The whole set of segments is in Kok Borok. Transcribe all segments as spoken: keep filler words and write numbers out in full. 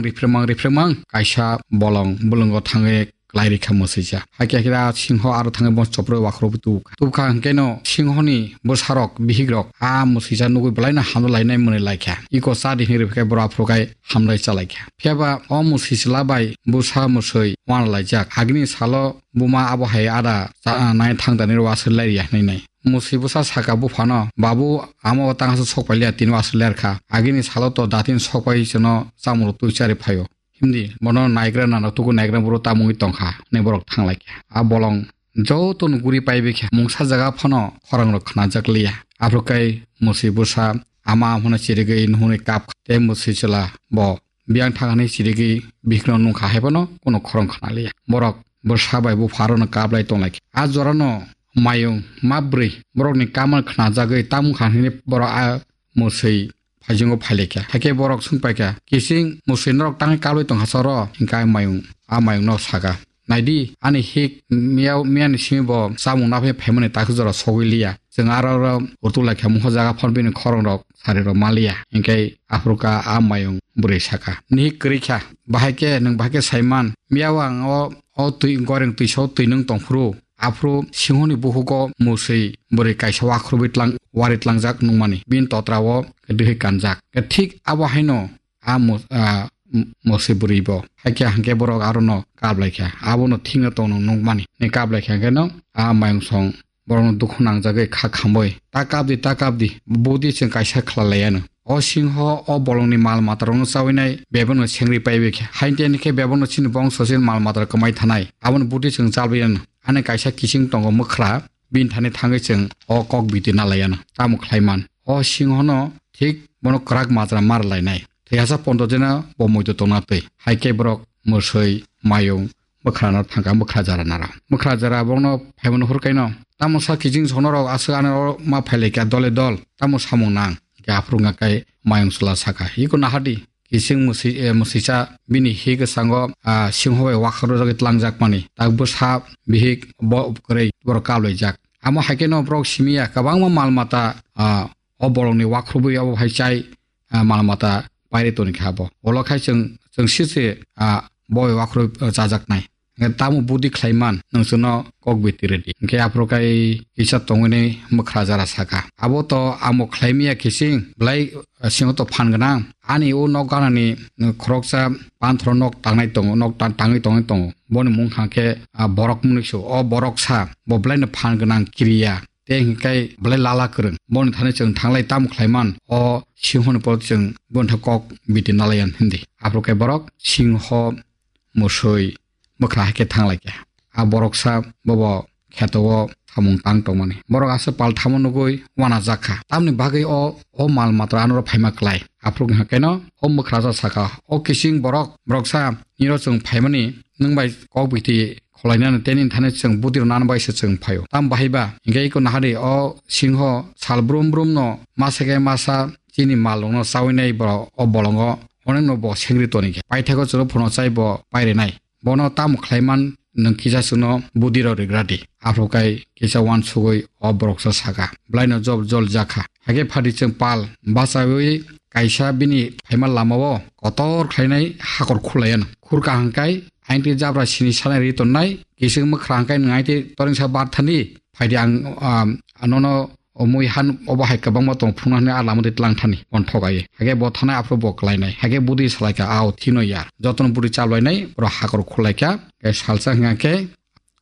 Riphremang riphremang kaisa bolong bulungo thangwi klai rikha mwswisa. Hakhe hakhe a singho aro thangwi bo chopro wakhro tubukha. Tubukha hwnkhe no singhoni bwsarok bihikrok a mwswisa nugwi belaino hamjak lainai mwnwi laikha. Iko cha di hinwi rwphikhe boro aphuru khai hamjai chalaikha. Phiyaba o mwswi chwla bai bwsa mwswi wanalaijak. Agini salo buma abo hai ada cha-, nai thangdani rw aswk lairiya hwnwi nai. Mwswi bwsa saka buphano, "Babu, amo o tangsa sok pailiya, tini o aswk lerkha. Agini salo to datini sok pai chwngno chamung rw twi chari phaio." Himdi, bono naigra nana tuku naigra buro tamungwi tongkha, hwnwi borok thanglaikha. A bolong jotono guri paibaikha, mungsa jaga phano khorang rok khnajak liya. Aphuru kai mwswi bwsa ama hwnwi chirigwi nuhunwi kap tei mwswi chwla bo biyang thangani chirigwi bihikno nungkha haiphano kuno khorang khna liya. Borok bwsa bai bupha rono kap lai tonglaikha. A jorano mayung ma bwrwi borokni kamal khnajagwi tamungkha hwnwi borok a mwswi phaisingo phailaikha. Hakhe borok swngpaikha, "Kising mwswi norok tangwi kaplwi tongkha choro?" Hinkhe a mayung, a mayungno saka, "Naidi, ani hik miya, miyani simi bo chamung naphai phaimani takhu jora sogwi liya. Chwng aro oro utu laikha mungho jaga phano bini khorang rok sari rok maliya." Hinkhe aphuru kha a mayung bwrwi saka, "Nihik kwrwi kha, bahai khe nwng bahai khe saiman, miya o ang o, o twi goreng twisa o twi nwng tongphuru." Aphuru singhoni buhugo mwswi bwrwi kaisa wakhorwi tlang-, wari tlangjak nukmani, bini totra o dwihwi kanjak. Thik abo haino a mu-, a, m-, mwswi bwrwi bo. Hakhe hwnkhe borok arono kaplaikha, abono thikno tongno nukmani. Ni kaplaikha hwnkhe no a mayungsong borokno dukhu nangjagwi kha khamwi, "Ta kapdi, ta kapdi, budi chwng kaisa khlalaiyano. O singho o bolongni mal matarokno chawinai bebakno sengri paibaikha. Haini teni khe bebakno chini bongso chini mal matarok kwmai thanai. Aboni budi chwng chalbaiyano." Ani kaisa kising tongo mwkhra, bini thani thangwi chwng o kok biti nalaiyano. Tamo khlaiman? O singhono thik bono kwrak majra mar lainai. Thwihasa pondo jena bo muitu tongna twi. Hai khe borok mwswi, mayung, mwkhrano thangkha mwkhra jara naro. Mwkhra jara borokno phaimano hurkaino, "Tamo sa kising sonorok aswk ano ma phailaikha dole dol, tamo samung nang?" Khe aphuru wngkha kai mayung chwla saka, "Iko nahardi, kising mwswi-, eh, mwswisa bini hi kwchango, ah, singho bai wakhorjagwi tlangjakmani, tak bwsa bihik bo kwrwi borok kablaijak. Amo hai kheno borok simiya kwbangma mal mata, ah, o bolongni wakhorwi abo hai chai, ah, mal mata pairi toni kha bo. Olo khai chwng, chwng sise, ah, bo bai wakhorwi, ah, chajaknai. Hwnkhe tamo budi khlaiman, nwng chwngno kok biti rwdi." Hwnkhe aphuru kai kisa tongwini mwkhra jara saka, "Abo to amo khlaimiya kising, belai, ah, singo to phan gwnang. Ani o nok ganani, ah, khoroksa panthoro nok tangnai tongo, nok ta-, tangwi tongwi tongo. Boni mung kha khe, ah, borok mwnwiso, o borok sa, bo belaino phan gwnang kiriya." Tei hwnkhe belai lala kwrwng. Boni thani chwng thanglai tamo khlaiman, o singhoni poro chwng boni thani kok biti nalaiyan hindi. Aphuru khe borok singho, mwswi, mwkhra hai khe thanglaikha. A boroksa bobo kheto o samung tang tongmani. Borok aswk pal thamo nugwi uanajak kha. Tamni bagwi o, o mal matra anoro phaima klai. Aphuru wngkha keno o mwkhra sa saka, "O kising borok, boroksa, niro chwng phaimani nwng bai kok biti khwlainani tei nini thani chwng budi rwnani bai se chwng phaio. Tamo bahai ba? Hwnkhe iko nahari o singho sal brum brum no masa khe masa chini mal rokno chawi nai borok o bolongo, onekno bo sengri toni khe. Paithakgo chwrwphano chai bo pairinai. Bono tamo khlaiman nwng kisa chwngno budi rok rigra di." Aphuru kai kisa uansugwi o boroksa saka, "Belaino jol jol jakha." Hakhe phadi chwng pal bachawi kaisa bini phaima lamao kotor khlainai hakor khulaiyan. Khur kaham kai aingtwi jabra sini sanai ri tonnai, kising mwkhra hwnkhe nwng aingtwi toringsa bar thani, phaidi ang, um, nono o mui han obo hai kwbangma tong phunukna hwnwi a lama twi tlang thani, bono thogai. Hakhe bo thanai aphuru bo klainai. Hakhe budi salaikha, "Ao, thino yar." Jotono budi chablainai, borok hakor khulaikha. Khe salsa hwnkha khe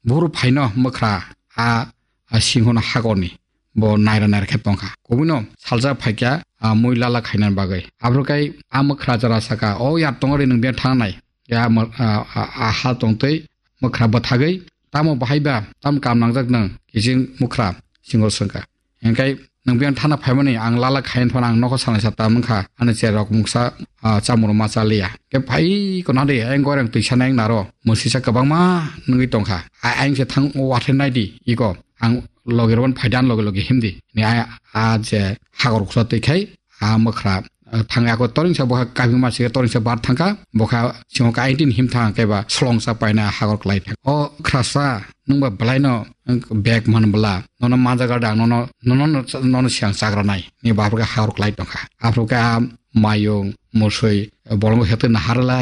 buhuru phaino mwkhra a, a singhono hakorni. Bo naira naira khe tongkha. Kubuino salsa phaikha, a, mui lala khainani bagwi. Aphuru kai a mwkhra jara saka, "O yar tongo ri nwng biya thangnai." Ya mo-, a, a, a ha tongtwi mwkhra bwthagwi, "Tamo bahai ba, tamo kam nangjak nwng?" Kising mwkhra singo swngkha. Hingkai nwng biyang thana phaimani ang lala khayan phano ang nokho sanai sa ta wngkha, ani cherok mungsa, ah, chamung ma chaliya. Khe phai kono de ayang goreng twi sanai ang naro, mwswisa kwbangma nungwi tongkha. A-, ayang se thang wathe naidi, iko ang logi rwban phaidi ani logi logi himdi. Ni a, a je hagor khula twi khai, a mwkhra, ah, thangwi ako toringsa bokha kabima se toringsa bar thangkha, bokha singo ka eighteen him thang khe ba slongsa paina hagor klai thang. O khrasa, nwng ba belaino bag man bwla, nono manja gada ang nono, nono, nono siang chagra nai. Ni baphru khe hagor klai tongkha. Aphru khe a mayung, musui, bolongo hetwi naharlai.